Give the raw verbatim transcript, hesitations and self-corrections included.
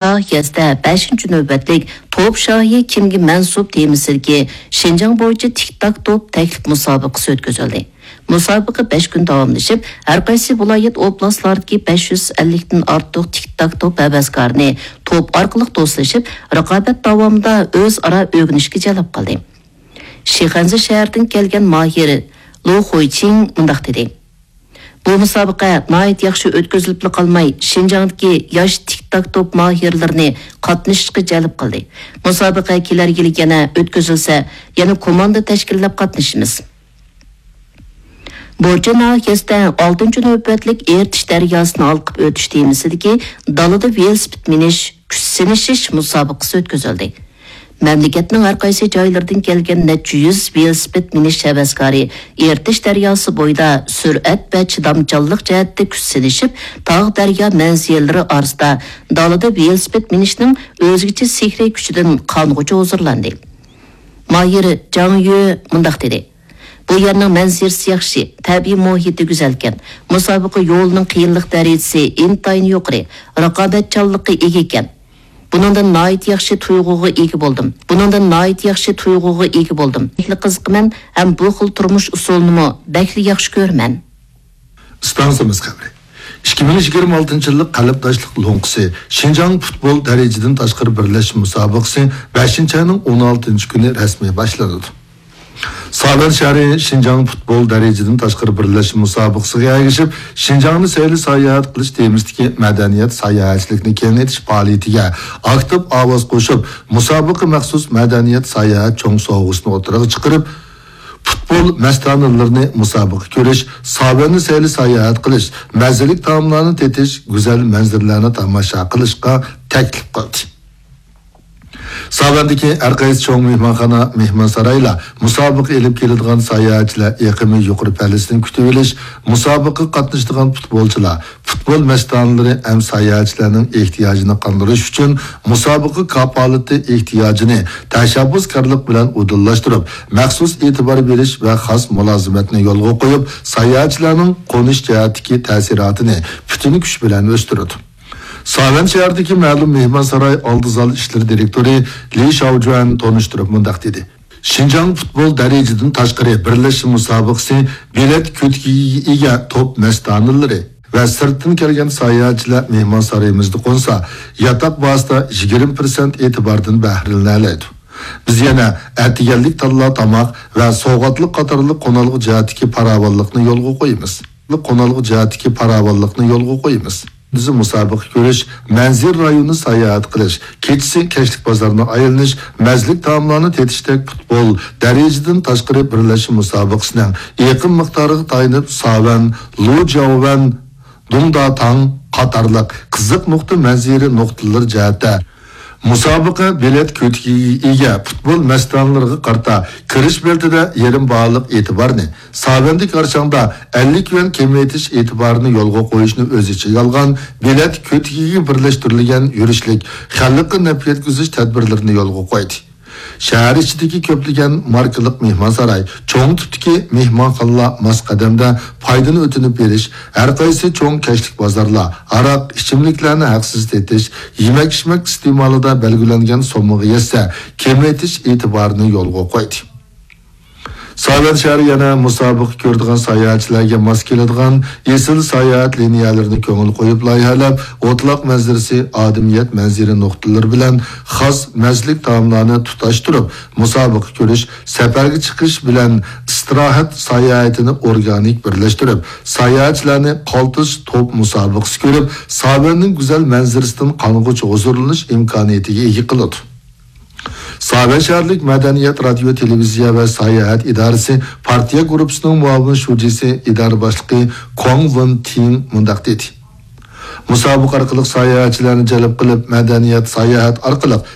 ناھىيەسىدە بەشىنچى نۆۋەتلىك توپ شاھى كىمگە مەنسۇپ تېمىسىدىكى شىنجاڭ بويىچە تىك تاك توپ تەكلىپ مۇسابىقىسى ئۆتكۈزۈلدى. مۇسابىقە بەش كۈن داۋاملىشىپ، ھەر قايسى ۋىلايەت، ئوبلاستلاردىكى بەش يۈز ئەللىكتىن ئارتۇق تىك تاك توپ ھەۋەسكارىنى توپ ئارقىلىق دوستلىشىپ، رىقابەت داۋامىدا ئۆزئارا ئۆگىنىشكە جەلپ قىلدى. شىخەنزە شەھىرىدىن كەلگەن ماھىر لو خۇيچىڭ مۇنداق دېدى: بۇ مۇسابىقە ناھايىتى ياخشى ئۆتكۈزۈلۈپلا قالماي، شىنجاڭدىكى ياش تىك تاك توپ ماھىرلىرىنى قاتنىشىشقا جەلپ قىلدى. مۇسابىقە كېلەر يىلى يەنە ئۆتكۈزۈلسە، يەنە كوماندا تەشكىللەپ قاتنىشىمىز. بوچى ناھىيەسىدە ئالتىنچى نۆۋەتلىك ئېرتىش دەرياسىنى ھالقىپ ئۆتۈش تېمىسىدىكى دالىدا ۋېلىسىپىت مىنىش، كۈچ سىنىشىش مۇسابىقىسى ئۆتكۈزۈلدى. مەملىكەتنىڭ ھەر قايسى جايلىرىدىن كەلگەن نەچچە يۈز ۋېلىسىپىت مىنىش ھەۋەسكارى ئېرتىش دەرياسى بويىدا سۈرئەت ۋە چىدامچانلىق جەھەتتە كۈچ سىنىشىپ، تاغ، دەريا مەنزىرىلىرى ئارىسىدا دالىدا ۋېلىسىپىت مىنىشنىڭ ئۆزگىچە سېھرىي كۈچىدىن قانغۇچە ھۇزۇرلاندى. ماھىر جاڭ يۈ مۇنداق دېدى: بۇ يەرنىڭ مەنزىرىسى ياخشى، تەبىئىي مۇھىتى گۈزەلكەن. مۇسابىقە يولىنىڭ قىيىنلىق دەرىجىسى ئىنتايىن يۇقىرى، رىقابەتچانلىققا ئىگە ئىكەن. بۇنىڭدىن ناھايىتى ياخشى تۇيغۇغا ئىگە بولدۇم. بۇنىڭدىن ناھايىتى ياخشى تۇيغۇغا ئىگە بولدۇم. بەكلا قىزىقىمەن ھەم بۇ خىل تۇرمۇش ئۇسۇلىنىمۇ بەكلا ياخشى كۆرىمەن. ئىستانسىمىز خەۋىرى. ئىككى مىڭ يىگىرمە ئالتىنچى يىللىق قەلبداشلىق لوڭقىسى شىنجاڭ پۇتبول دەرىجىدىن تاشقىرى بىرلەشمە مۇسابىقىسى بەشىنچى ئاينىڭ ئون ئالتىنچى كۈنى رەسمىي باشلىنىدۇ. ساۋەن شەھىرى شىنجاڭ پۇتبول دەرىجىدىن تاشقىرى بىرلەشمە مۇسابىقىسىگە ئەگىشىپ، شىنجاڭنى سەيلە ساياھەت قىلىش تېمىسىدىكى مەدەنىيەت ساياھەتچىلىكنى كېڭەيتىش پائالىيىتىگە ئاكتىپ ئاۋاز قوشۇپ، مۇسابىقە مەخسۇس مەدەنىيەت ساياھەت چوڭ سوۋغىسىنى ئوتتۇرىغا چىقىرىپ، پۇتبول مەستانىلىرىنى مۇسابىقە كۆرۈش، ساۋەننى سەيلە ساياھەت قىلىش، مەززىلىك تائاملارنى تېتىش، گۈزەل مەنزىرىلەرنى تاماشا قىلىشقا تەكلىپ قىلدى. ساۋەندىكى ھەر قايسى چوڭ مېھمانخانا، مېھمانسارايلار مۇسابىقە ئېلىپ كېلىدىغان ساياھەتچىلەر ئېقىمى يۇقىرى پەللىسىنى كۈتۈۋېلىش، مۇسابىقىگە قاتنىشىدىغان پۇتبولچىلار، پۇتبول مەستانىلىرى ھەم ساياھەتچىلەرنىڭ ئېھتىياجىنى قاندۇرۇش ئۈچۈن مۇسابىقە كاپالىتى ئېھتىياجىنى تەشەببۇسكارلىق بىلەن ئۇدۇللاشتۇرۇپ، مەخسۇس ئېتىبار بېرىش ۋە خاس مۇلازىمەتنى يولغا قويۇپ، ساياھەتچىلەرنىڭ قونۇش جەھەتتىكى تەسىراتىنى پۈتۈن كۈچ بىلەن ئۆستۈرىدۇ. ساۋەن شەھىرىدىكى مەلۇم مېھمانساراي ئالدى زال ئىشلىرى دىرېكتورى لى شاۋجۈەن تونۇشتۇرۇپ مۇنداق دېدى: شىنجاڭ پۇتبول دەرىجىدىن تاشقىرى بىرلەشمە مۇسابىقىسى بېلەت كۆتىكىگە ئىگە توپ مەستانىلىرى ۋە سىرتتىن كەلگەن ساياھەتچىلەر مېھمانسارايىمىزدا قونسا، ياتاق بازىسىدا يىگىرمە پىرسەنت ئېتىباردىن بەھرىلىنەلەيدۇ. بىز يەنە ئەتىگەنلىك تاللا تاماق ۋە سوۋغاتلىق قاتارلىق قونالغۇ جەھەتتىكى پاراۋانلىقنى يولغا قويىمىز. قونالغۇ جەھەتتىكى پاراۋانلىقنى يولغا قويىمىز. بىز مۇسابىقە كۆرۈش، مەنزىرە رايونىنى ساياھەت قىلىش، كېچىسى كەچلىك بازارنى ئايلىنىش، مەززىلىك تائاملارنى تېتىشتەك پۇتبول دەرىجىدىن تاشقىرى بىرلەشمە مۇسابىقىسىنىڭ ئېقىم مىقدارىغا تايىنىپ، ساۋەن، لۇجياۋەن، دۇڭداتاڭ قاتارلىق قىزىق نۇقتا مەنزىرە نۇقتىلىرى جەھەتتە مۇسابىقە بېلەت كۆتىكىگە ئىگە پۇتبول مەستانىلىرىغا قارىتا كىرىش بېلىتىدە يېرىم باھالىق ئېتىبارنى، ساۋەندىكى ئارشاڭدا ئەللىك يۈەن كېمەيتىش ئېتىبارىنى يولغا قويۇشنى ئۆز ئىچىگە ئالغان بېلەت كۆتىكىگە بىرلەشتۈرۈلگەن يۈرۈشلۈك خەلققە نەپ يەتكۈزۈش تەدبىرلىرىنى يولغا قويدى. شەھەر ئىچىدىكى كۆپلىگەن ماركىلىق مېھمانساراي، چوڭ تىپتىكى مېھمانخانىلار ماس قەدەمدە پايدىنى ئۆتۈنۈپ بېرىش، ھەر قايسى چوڭ كەچلىك بازارلار ھاراق، ئىچىملىكلەرنى ھەقسىز تېتىش، يېمەك-ئىچمەك ئىستېمالىدا بەلگىلەنگەن سوممىغا يەتسە، كېمەيتىش ئېتىبارىنى يولغا قويدى. ساۋەن شەھىرى يەنە مۇسابىقە كۆرىدىغان ساياھەتچىلەرگە ماس كېلىدىغان ئېسىل ساياھەت لىنىيەلىرىنى كۆڭۈل قويۇپ لايىھەلەپ، ئوتلاق مەنزىرىسى، ئادىمىيەت مەنزىرە نۇقتىلىرى بىلەن خاس مەززىلىك تائاملارنى تۇتاشتۇرۇپ، مۇسابىقە كۆرۈش، سەپەرگە چىقىش بىلەن ئىستىراھەت ساياھىتىنى ئورگانىك بىرلەشتۈرۈپ، ساياھەتچىلەرنى قالتىس توپ مۇسابىقىسى كۆرۈپ، ساۋەننىڭ گۈزەل مەنزىرىسىدىن قانغۇچە ھۇزۇرلىنىش ئىمكانىيىتىگە ئىگە قىلىدۇ. ساۋەن شەھەرلىك مەدەنىيەت، رادىيو، تېلېۋىزىيە ۋە ساياھەت ئىدارىسى پارتىيە گۇرۇپپىسىنىڭ مۇئاۋىن شۇجىسى، ئىدارە باشلىقى كۇاڭ ۋېن تىڭ مۇنداق دېدى: مۇسابىقە ئارقىلىق ساياھەتچىلەرنى جەلپ قىلىپ، مەدەنىيەت، ساياھەت ئارقىلىق